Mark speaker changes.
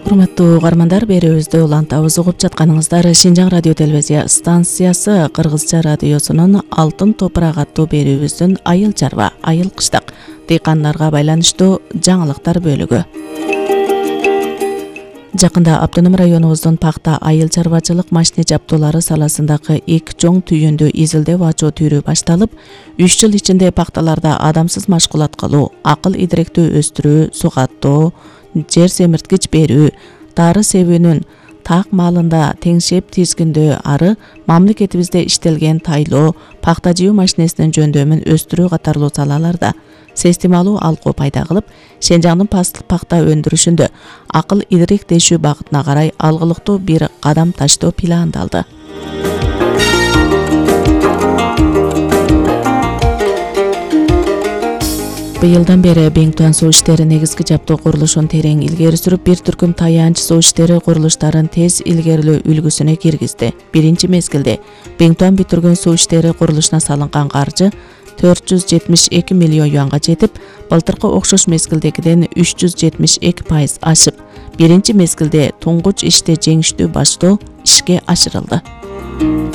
Speaker 1: Урматтуу угармандар, берүүбүздү улантабыз. Угуп жатканыңыздар Шинжаң радио телевизия станциясы Кыргызча радиосунун Алтын топурак аттуу берүүбүздүн айыл чарба, айыл кыштак дыйкандарга байланыштуу жаңылыктар бөлүгү. Жакында Автоном районубуздун пакта айыл чарбачылык машина жабдуулары саласындагы эки чоң түйүндү изилдеп ачуу түрү башталып, 3 жыл ичинде пакталарда адамсыз машгулат кылуу, акыл идиректи өстүрүү, сугаттоо, жер семирткич берүү, дары себүүнүн так маалында теңшеп тизгиндөө ары мамлекетибизде иштелген тайлоо, пакта жыйуу машинесинин жөндөмүн өстүрүү катарлуу салаларда системалуу алгу пайда кылып, Шенжаңдын пакта өндүрүшүндө акыл идиректешүү багытына карай алгылыктуу бир кадам таштоо пландалды. Быйылдан бери Беңтуан суу иштери негизги жабдуу курулушун терең илгери сүрүп, бир түркүм таянч суу иштери курулуштарын тез илгерилөө үлгүсүнө киргизди. Биринчи мезгилде Беңтуан бүтүргөн суу иштери курулушуна салынган каржы 472 миллион юанга жетип, былтыркы окшош мезгилдегиден 372% ашып, биринчи мезгилде туңгуч ишти жеңиштүү баштоо ишке ашырылды.